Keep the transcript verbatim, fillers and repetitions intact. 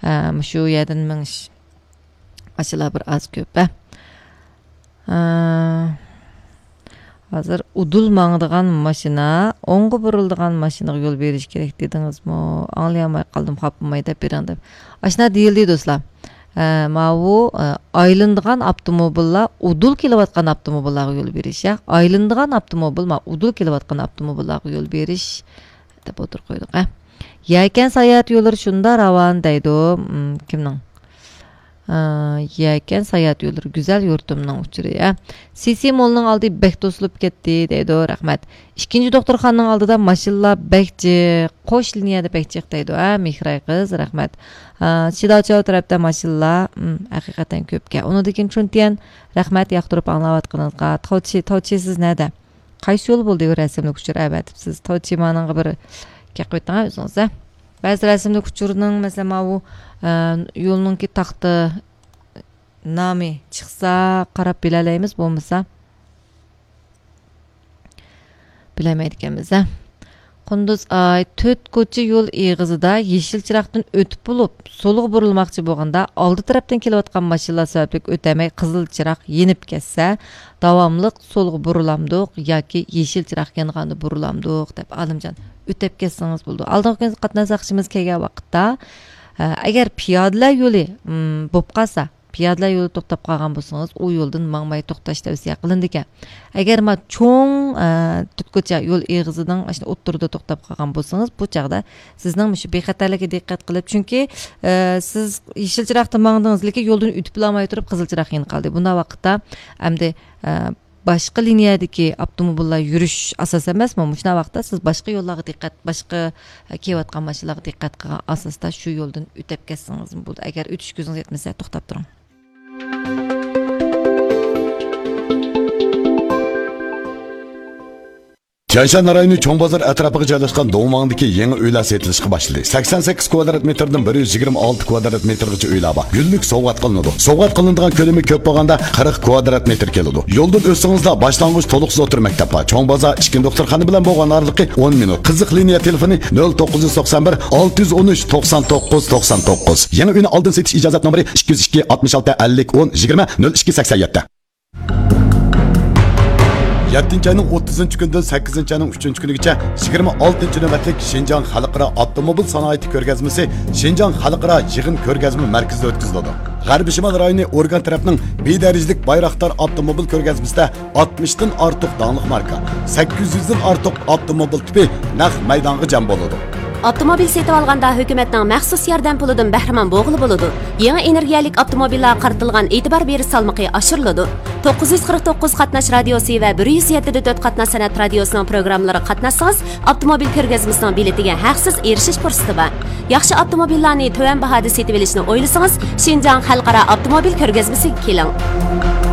ئە، مۇشۇ يەردىن مېڭىش. ئاشۇلار بىر ئاز كۆپ، ھە. ئە، ھازىر ئۇدۇل ماڭىدىغان ماشىنا، ئوڭغا بۇرۇلىدىغان ماشىنىغا يول بېرىش كېرەك دېدىڭىزمۇ؟ ئاڭلىيالماي قالدىم، خاپىماي دەپ بېرىڭ دەپ. ئاشۇنداق دېيىلدى، دوستلار. ئە، ماۋۇ، ئە، ئايلىنىدىغان ئاپتوموبىللار ئۇدۇل كېلىۋاتقان ئاپتوموبىللارغا يول بېرىش، يا. ئايلىنىدىغان ئاپتوموبىل، ما، ئۇدۇل كېلىۋاتقان ئاپتوموبىللارغا يول بېرىش دەپ ئوتتۇرىغا قويدۇق، ھە. يەكەن ساياھەت يوللىرى شۇنداق راۋان دەيدۇ. م، كىمنىڭ؟ ئە، يەكەن ساياھەت يوللىرى، گۈزەل يۇرتۇمنىڭ ئۇچۇرى، ھە. سىسى مولنىڭ ئالدى بەك توسۇلۇپ كەتتى دەيدۇ. رەھمەت. ئىككىنچى دوختۇرخانىنىڭ ئالدىدا ماشىنىلار بەك جىق، قوش لىنىيەدە بەك جىق دەيدۇ، ھە، مېھراي قىز، رەھمەت. ئە، شىداچاۋ تەرەپتە ماشىنىلار، م، ھەقىقەتەن كۆپكەن. ئۇنىڭدىن كېيىن چۈنتيەن، رەھمەت ياقتۇرۇپ ئاڭلاۋاتقىنىڭىزغا. تاۋچى، تاۋچى سىز نەدە؟ قايسى يول بولدى بۇ رەسىملىك ئۇچۇر ئەۋەتىپسىز؟ تاۋچى مانىڭغا بىر گەپ قويۇڭ ئۆزىڭىز، ھە؟ بەزى رەسىملىك ئۇچۇرنىڭ، مەسىلەن، ماۋۇ، ئە، يولنىڭكى تاختا نامى چىقسا قاراپ بىلەلەيمىز، بولمىسا بىلەلمەيدىكەنمىز، ھە. قۇندۇز ئاي، تۆت كوچا يول ئېغىزىدا يېشىل چىراغدىن ئۆتۈپ بولۇپ، سولغا بۇرۇلماقچى بولغاندا، ئالدى تەرەپتىن كېلىۋاتقان ماشىنىلار سەۋەبلىك ئۆتەلمەي، قىزىل چىراغ يېنىپ كەتسە، داۋاملىق سولغا بۇرۇلامدۇق ياكى يېشىل چىراغ يانغاندا بۇرۇلامدۇق دەپ، ئالىمجان، ئۆتەپ كەتسىڭىز بولىدۇ. ئالدىنقى كۈنى قاتناش ساقچىمىز كەلگەن ۋاقىتتا، ئە، ئەگەر پىيادىلەر يولى، م، بولۇپ قالسا، پىيادىلەر يولى توختاپ قالغان بولسىڭىز، ئۇ يولدىن ماڭماي توختاش تەۋسىيە قىلىنىدىكەن. ئەگەر ما چوڭ، ئە، تۆت كوچا يول ئېغىزىنىڭ ئاشۇ ئوتتۇرىدا توختاپ قالغان بولسىڭىز، بۇ چاغدا سىزنىڭ مۇشۇ بىخەتەرلىككە دىققەت قىلىپ، چۈنكى، ئە، سىز يېشىل چىراغدا ماڭدىڭىز، لېكىن يولدىن ئۆتۈپلاماي تۇرۇپ قىزىل چىراغ يېنىپ قالدى. بۇنداق ۋاقىتتا ئەمدى، ئە، باشقا لىنىيەدىكى ئاپتوموبىللار يۈرۈش ئاساس ئەمەسمۇ؟ مۇشۇنداق ۋاقىتتا سىز باشقا يوللارغا دىققەت، باشقا، ئە، كېلىۋاتقان ماشىنىلارغا دىققەت قىلغان ئاساستا شۇ يولدىن ئۆتەپ كەتسىڭىزمۇ بولىدۇ. ئەگەر ئۆتۈش كۆزىڭىز يەتمىسە، توختاپ تۇرۇڭ. تيەنشان رايونى چوڭ بازار ئەتراپىغا جايلاشقان دوڭماڭدىكى يېڭى ئۆيلەر سېتىلىشقا باشلىدى. سەكسەن سەككىز كۋادرات مېتىردىن بىر يۈز يىگىرمە ئالتە كۋادرات مېتىرغىچە ئۆيلەر بار. گۈللۈك سوۋغات قىلىنىدۇ. سوۋغات قىلىنىدىغان كۆلىمى كۆپ بولغاندا قىرىق كۋادرات مېتىر كېلىدۇ. يولدىن ئۆتسىڭىزلا باشلانغۇچ تولۇقسىز ئوتتۇرا مەكتەپ بار. چوڭ بازار ئىككىنچى دوختۇرخانا بىلەن بولغان ئارىلىقى ئون مىنۇت. قىزىق لىنىيە تېلېفونى نۆل توققۇز يۈز توقسان بىر، ئالتە يۈز ئون ئۈچ، توقسان توققۇز، توقسان توققۇز. يېڭى ئۆينى ئالدىن سېتىش ئىجازەت نومۇرى ئىككى يۈز ئىككى، ئاتمىش ئالتە، ئەللىك، ئون، يىگىرمە، نۆل ئىككى، سەكسەن يەتتە. يەتتىنچى ئاينىڭ ئوتتۇزىنچى كۈنىدىن سەككىزىنچى ئاينىڭ ئۈچىنچى كۈنىگىچە يىگىرمە ئالتىنچى نۆۋەتلىك شىنجاڭ خەلقئارا ئاپتوموبىل سانائىتى كۆرگەزمىسى شىنجاڭ خەلقئارا يىغىن كۆرگەزمە مەركىزىدە ئۆتكۈزۈلىدۇ. غەربىي شىمال رايونى ئورگان تەرەپنىڭ بىدەرىجىلىك بايراقدار ئاپتوموبىل كۆرگەزمىسىدە ئاتمىشتىن ئارتۇق داڭلىق ماركا، سەككىز يۈزدىن ئارتۇق ئاپتوموبىل تىپى نەق مەيدانغا جەم بولىدۇ. ئاپتوموبىل سېتىۋالغاندا ھۆكۈمەتنىڭ مەخسۇس ياردەم پۇلىدىن بەھرىمەن بولغىلى بولىدۇ. يېڭى ئېنېرگىيەلىك ئاپتوموبىللارغا قارىتىلغان ئېتىبار بېرىش سالمىقى ئاشۇرۇلىدۇ. توققۇز يۈز قىرىق توققۇز قاتناش رادىيوسى ۋە بىر يۈز يەتتە دە تۆت قاتناش سەنئەت رادىيوسىنىڭ پروگراممىلىرىغا قاتناشسىڭىز، ئاپتوموبىل كۆرگەزمىسىنىڭ بېلىتىگە ھەقسىز ئېرىشىش پۇرسىتى بار. ياخشى ئاپتوموبىللارنى تۆۋەن باھادا سېتىۋېلىشنى ئويلىسىڭىز، شىنجاڭ خەلقئارا ئاپتوموبىل كۆرگەزمىسىگە كېلىڭ.